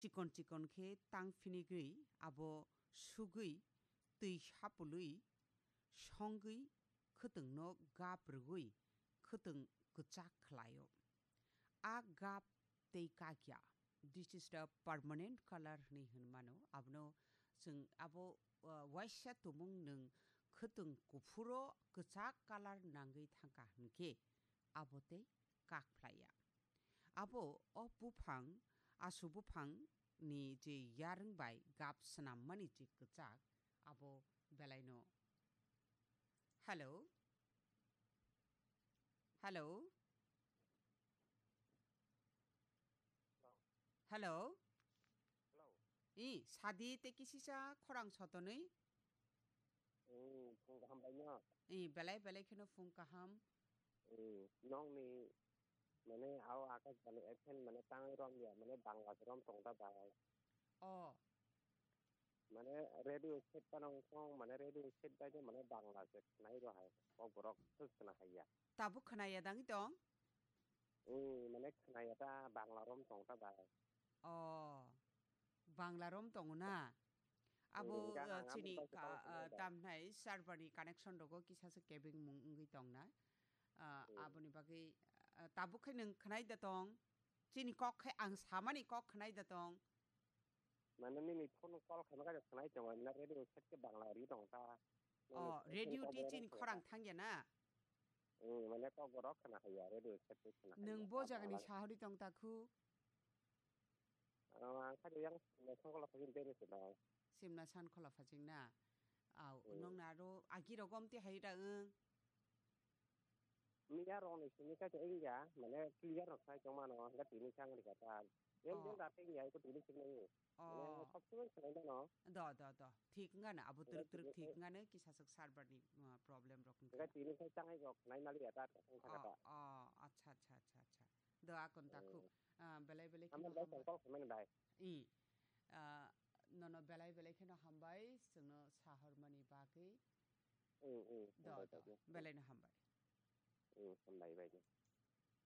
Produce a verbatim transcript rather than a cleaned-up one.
chikon chikon khe tang phinigwi abo sugwi twi sapului songwi khwtwngno gap rwgwi khwtwng kwchak khlaio. A gap tei kakya, this is the permanent color hwnwi hwn mano. Abono chwng abo, uh, waisa tumung nwng khwtwng kuphuro kwchak color nangwi thangkha hwnkhe abo tei kak phlaiya. Abo o buphang, asu buphang ni je yarwng bai gap swnammani je kwchak, abo belaino. Hello? Hello? Hello? Hello. I, sadi tei kisisa khorang sotonwi? Hmm, phung kaham bai no? I, belai belai kheno phung kaham. Hmm, nong ni mane ao Akash Bani F M mane tangwi rom ya, mane Bangla se rom tong ta bai. O. Mane radio set pa nang song, mane radio set bai de mane Bangla se khnai ro hai. O borok thus khna hai ya. Tabuk khna ya dang tong? Hmm, mane khna ya ta Bangla rom tong ta bai. O. Bangla rom tongo na? Abo, hmm, gana uh, ang chini abo ka, bai uh, tong ta. Tamnai server ni connection rogo kisa se kebeng mung wngwi tong na. Uh, hmm. Aboni bagwi, uh, tabuk khai nwng khwnai da tong. Chini kok khai ang samani kok khwnai da tong. Mane nini phone call khaima khe khwnai tongo, na radio set khe Bangla ri tong ta. Oh, nini radio phone ti call chini khorang thang ya na? Hmm, mane tok borok khna hai ya, radio set khe khna hai ya. Nwng bo jagani sahori tong ta khu? Ah, ang kha yang Simna Sankhola phajing bere se bai. Simna Sankhola phajing na? Au, hmm. Nong na ro agi rogom ti hai da wng. Miya rok ni simi kha se wngya, mane clear rok sai tong mano, hingke tini sang rika ta. Yang Oh. Yang date wngya, iko tini sing nai. Oh. Mane sab sumai khlai mano. Do, do, do. Thik wngano, abo twrwk twrwk thik wngano, kisa swk server ni, uh, problem rok wngkha. Hingke tini sai tangai rok nai mali ya ta, ta sang kha ta. Oh, oh, acha, acha, acha, acha. Do, akon ta khu. Hmm. Ah, belai belai kheno hambai. Amo bai tong kol khamani bai. I. Ah, nono belai belai kheno hambai, chwngno sahormani bagwi. Hmm, hmm, do, hambai do, bai. Belai no hambai. Hmm, hambai bai.